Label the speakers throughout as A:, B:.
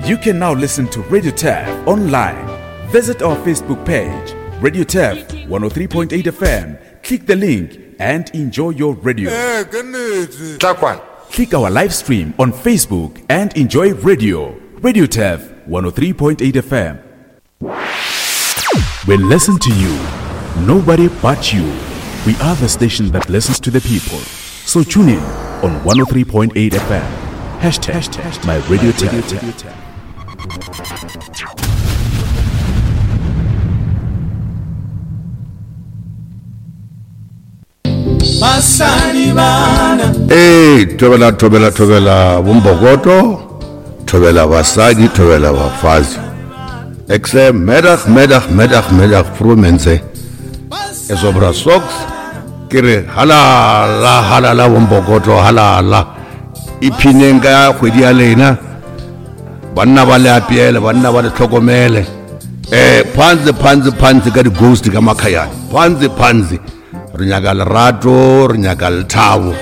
A: You can now listen to Radio Taf online. Visit our Facebook page, Radio Taf 103.8 FM. Click the link and enjoy your radio. Click our live stream on Facebook and enjoy radio. Radio Taf 103.8 FM. We listen to you. Nobody but you. We are the station that listens to the people. So tune in on 103.8 FM. Hashtag my radio tap.
B: Ee, thobela thobela thobela bombokoto thobela basadi thobela bafazi ek sê middag middag middag middag vroue is op socks ke re halala halala bombokoto halala iphineng ka kgwedi ya lena banna ba le apeele banna ba le tlhokomele um phantse phantse phantse ka di-ghost ka makhayane phantse phantse re nyaka lerato re nyaka lethabo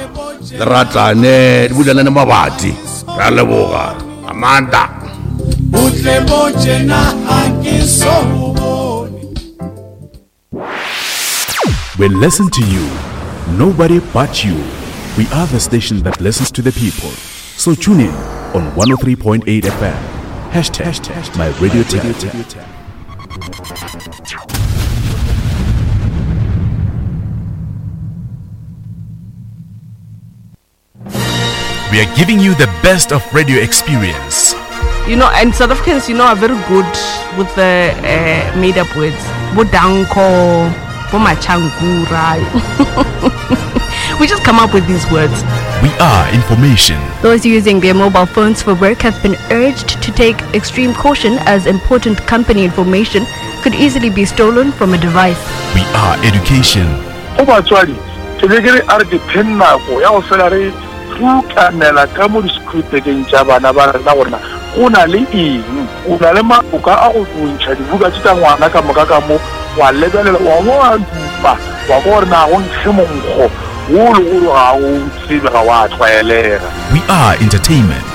B: le ratane di bulelane mabati re a leboga amanda
C: butle bo tjena ha ke so bone
A: We listen to you. Nobody but you. We are the station that listens to the people. So tune in on 103.8 FM. Hashtag my radio tap. We are giving you the best of radio experience.
D: You know, and South Africans, you know, are very good with the uh, made up words. Bodanko, Bomachankura. we just come up with these words.
A: We are information.
E: Those using their mobile phones for work have been urged to take extreme caution as important company information could easily be stolen from a device.
A: We are education.
F: Go batswadi, ke be ke re a re dipheng nako ya go fela re rukanela ka mo disekhuritekeng tša bana ba rena gore na go na le eng. O na le maoka a go ntšha dibuka tše tša ngwana ka moka ka mo, wa lebelela, wa bo wa dupa, wa kwa gore na go nkge monkgo wo le gore ga o tsebe, ga wa tlwaelega.
A: We are entertainment.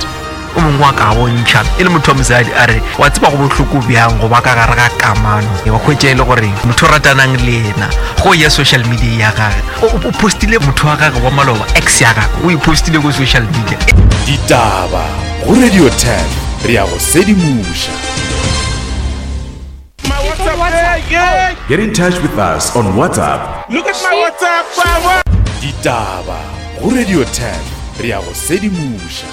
G: O mongwe wa ka bontšha e le motho wa mosadi a re wa tseba go bohloko bjang go ba ka gare ga kamano wa hwetša e le gore motho o ratanang le yena go ya social media ya gage o postile motho wa gage wa maloba ex ya gage o e postile ko social media.
A: Ditaba go Radio 10 re ya go sedimoša. Get in touch with us on WhatsApp.
C: Look at my WhatsApp.
A: Ditaba go Radio 10 re ya go sedimoša.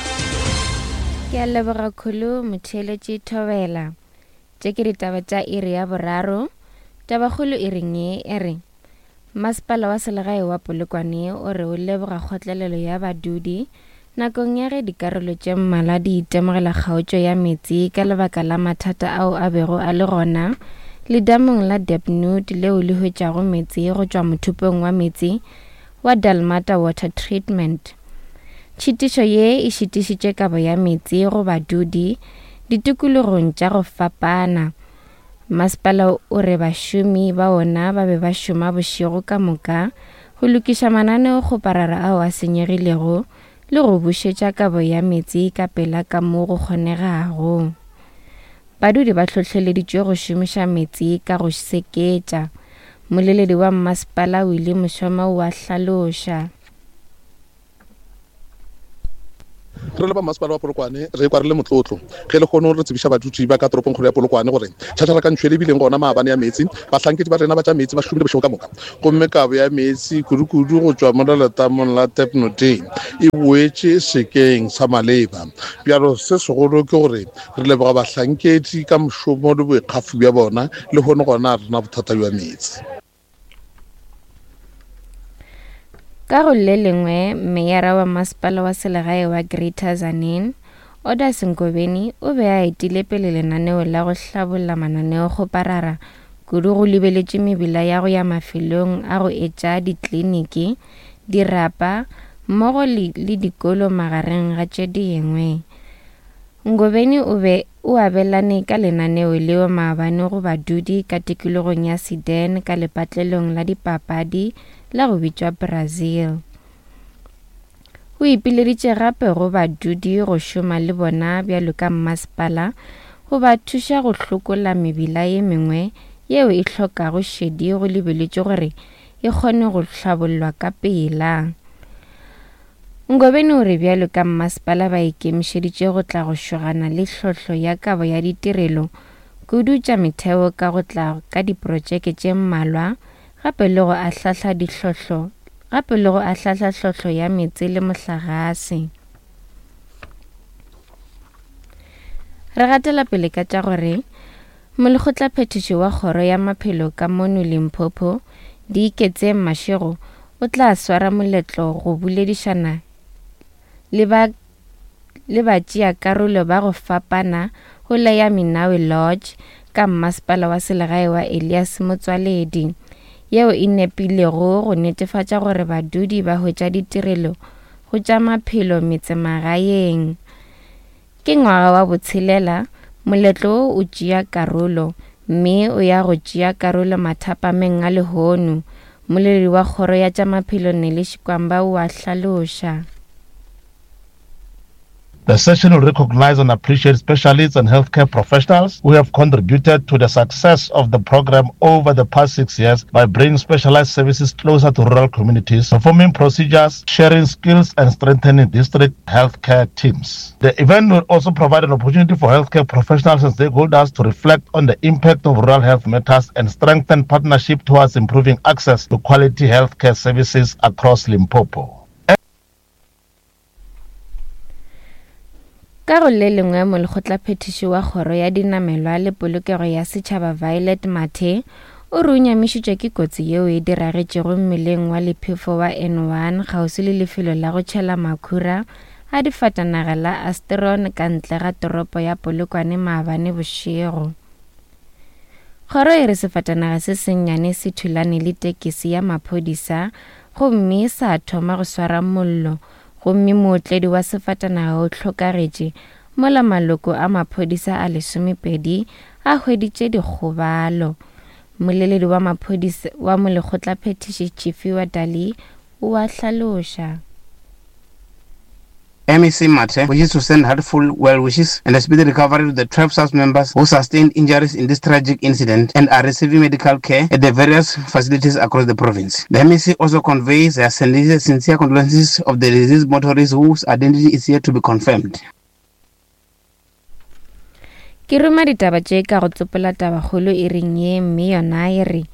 H: Ke a leboga Khulu motheeletši Thobela. Tše ke ditaba tša iri ya boraro. Tabakgolo e reng ye e re Masepala wa selegae wa Polokwane o re o leboga kgotlelelo ya badudi nakong ya ge dikarolo tše mmalwa di itemogela kgaotšo ya meetse ka lebaka la mathata ao a bego a le gona ledamong la Debnoot leo le hwetšago meetse go tšwa mothopong wa meetse wa Dalmata Water Treatment. Tšhitišo ye e šitišitše kabo ya meetse go badudi ditikologong tša go fapana. Masepala o re bašomi ba wona ba be ba šoma bošego ka moka go lokiša mananeokgoparara ao a senyegilego le go bušetša kabo ya meetse ka pela ka mo go kgonegago. Badudi ba hlohleleditšwe go šomiša meetse ka go seketša. Moleledi wa mmasepala Willie Moshoma o a hlaloša.
I: Re le ba Mmasepala wa Polokwane re kwa re le motlotlo ge lehono re tsebiša badudi ba ka toropongkgolo ya Polokwane gore tšhatšharakantšho e lebileng gona maabane ya meetse, bahlankedi ba rena ba tša meetse ba šomile bošego ka moka gomme kabo ya meetse kudukudu go tšwa mola letamong la Tepnoteng e boetše sekeng sa maleba. Bjalo se segolo ke gore re leboga bahlankedi ka mošomo le boikgafo bja bona, lehono gona ga re na bothata bja meetse.
H: Ka go le lengwe, meyara wa masepala wa selegae wa Greater Tzaneen, Odas Ngobeni, o be a etile pele lenaneo la go hlabolla mananeokgoparara kudu go lebeletše mebila ya go ya mafelong a go etša dikliniki, dirapa mmogo le dikolo magareng ga tše dingwe. Ngobeni o be o abelane ka lenaneo leo maabane go badudi ka tikologong ya Sedan ka lepatlelong la dipapadi la go bitšwa Brazil. O ipileditše gape go badudi go šoma le bona bjalo ka mmasepala go ba thuša go hlokola mebila ye mengwe yeo e hlokago šedi go lebeletšwe gore e kgone go hlabollwa ka pela. Ngobeni o re bjalo ka mmasepala ba ikemišeditše go tla go šogana le tlhohlo ya kabo ya ditirelo kudu tša metheo ka go tla ka diprotšeke tše mmalwa gape le go ahlahla ditlhohlo gape le go ahlahla tlhohlo ya meetse le mohlagase. Re gatela pele ka tša gore Molekgotlaphethiši wa Kgoro ya Maphelo ka mono Limpopo, Diiketseng Mashego, o tla swara moletlo go boledišana le ba le batšeakarolo ba go fapana go la ya Minawe Lodge ka Mmasepala wa Selegae wa Elias Motsoaledi, yeo e nepilego go netefatša gore badudi ba hwetša ditirelo go tša maphelo metsemagaeng. Ke ngwaga wa botshelela moletlo wo o tšea karolo, mme o ya go tšea karolo mathapameng a lehono, moleledi wa kgoro ya tša maphelo Nelly Shikwamba o a hlaloša.
J: The session will recognize and appreciate specialists and healthcare professionals who have contributed to the success of the program over the past six years by bringing specialized services closer to rural communities, performing procedures, sharing skills, and strengthening district healthcare teams. The event will also provide an opportunity for healthcare professionals and stakeholders to reflect on the impact of rural health matters and strengthen partnership towards improving access to quality healthcare services across Limpopo.
H: Ka go le lengwe molekgotlaphethiši wa kgoro ya dinamelwa le polokego ya setšhaba Violet Mathe o re o nyamišitšwe ke kotsi yeo e diragetšego mmeleng wa lephefo wa N1 kgauswi le lefelo la go tšhela makhura a difatanaga la Astron ka ntle ga toropo ya Polokwane maabane bošego. Kgoro e re sefatanaga se sennyane se thulane le tekesi ya maphodisa gomme sa thoma go swara mollo gomme mootledi wa sefatanaga o hlokagetše mola maloko a maphodisa a lesomepedi a hweditše dikgobalo. Mmoleledi wa maphodisa wa molekgotlaphethiši Tshifhiwa Dali o a hlaloša.
K: MEC Mathe wishes to send heartful well wishes and a speedy recovery to the 12 SARS members who sustained injuries in this tragic incident and are receiving medical care at the various facilities across the province. The MEC also conveys her sincere condolences of the deceased motorists whose identity is yet to be confirmed.
H: Ke ruma ditaba tše ka go tsopola tabakgolo e reng ye mme yona e re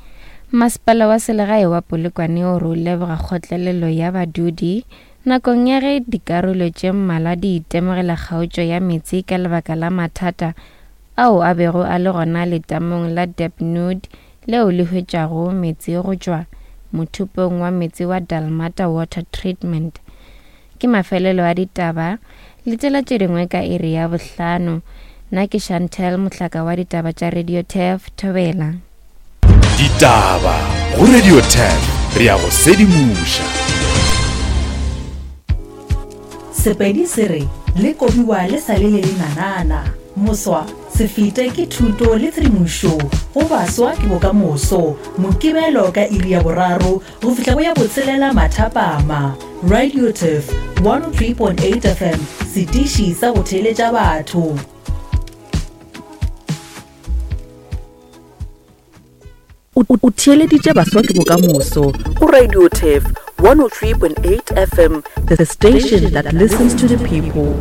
H: Masepala wa Selegae wa Polokwane o re o leboga kgotlelelo ya badudi nakong ya ge dikarolo tše mmalwa di itemogela kgaotšo ya meetse ka lebaka la mathata ao a bego a le gona letamong la Debnud leo le hwetšago meetse go tšwa mothopong wa meetse wa Dalmata Water Treatment. Ke mafelelo a ditaba le tsela tše dingwe ka iri ya bohlano. Nna ke Chantel Mohlaka wa ditaba tša Radio Turf Thobela.
A: Ditaba go Radio Turf re ya go sedimoša.
L: Sepedi se re le kobiwa le sa le le lenanana. Moswa, se fete ke thuto le tshedimošo go baswa ke bokamoso. Mokibelo ka iri ya boraro go fihla go ya botshelela mathapama. Radio Turf 103.8 FM, setiši sa go theeletša batho.
M: O theeleditše Baswa ke Bokamoso go Radio Turf 103.8 FM,
L: the station that listens to the people.